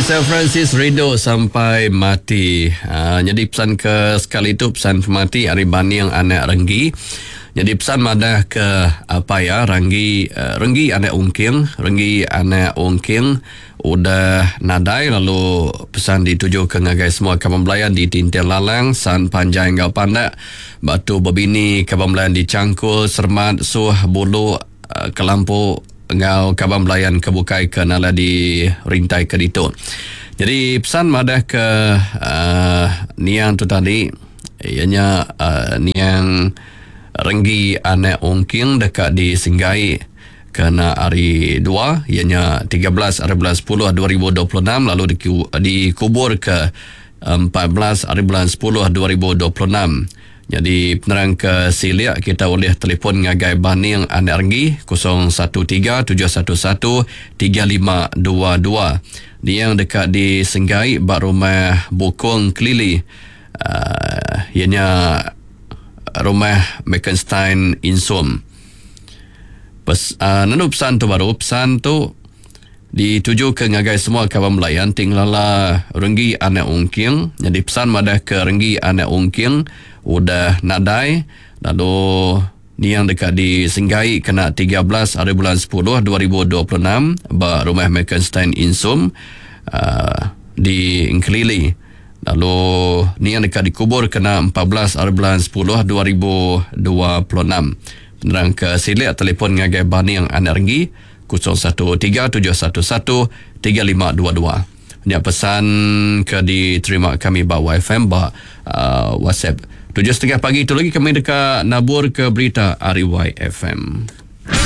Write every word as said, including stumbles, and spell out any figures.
Melissa Francis rindu sampai mati. Uh, jadi pesan ke sekali tu pesan pemati ari Baning anak Renggi. Jadi pesan madah ke apa ya Renggi uh, Renggi anak Ungking, Renggi anak Ungking udah nadai lalu pesan dituju ke ngagai semua kaban belayan di Tinting Lalang, San Panjai enggau Pandak, Batu Bebini, kaban belayan di Cangkul, Sermat, Suh, Bulu, uh, Kelampu enggau kaban belayan ke bukai ke nala di rintai ke ditu. Jadi pesan madah ke uh, niang tu tadi ianya uh, niang Renggi anak Ungking dekat di Singgai kena hari dua ianya tiga belas hari bulan sepuluh dua ribu dua puluh enam lalu dikubur ke empat belas hari bulan sepuluh dua ribu dua puluh enam. Jadi penerang ke Siliak kita boleh telefon ngagai Baning Anak Renggi kosong satu tiga tujuh satu satu tiga lima dua dua. Dia yang dekat di Senggai bak rumah Bukong Kelili. Uh, ianya rumah Mekenstein Insum. Pes, uh, nenu pesan tu baru, pesan tu dituju ke ngagai semua kawan belayan tinglala Renggi Anak Ungking. Jadi pesan madah ke Renggi Anak Ungking udah nadai lalu niang dekat di Senggai kena tiga belas hari bulan sepuluh dua ribu dua puluh enam ba rumah Mekenstein Insum uh, di Engkelili. Lalu niang dekat dikubur kena empat belas hari bulan sepuluh dua ribu dua puluh enam. Penerang ke Silik telefon ngagai Baning Anak Renggi kosong satu tiga tujuh satu satu tiga lima dua dua. Ini pesan ke diterima kami ba Y F M ba uh, WhatsApp. Tujuh setengah pagi itu lagi kami dekat nabur ke berita R Y F M.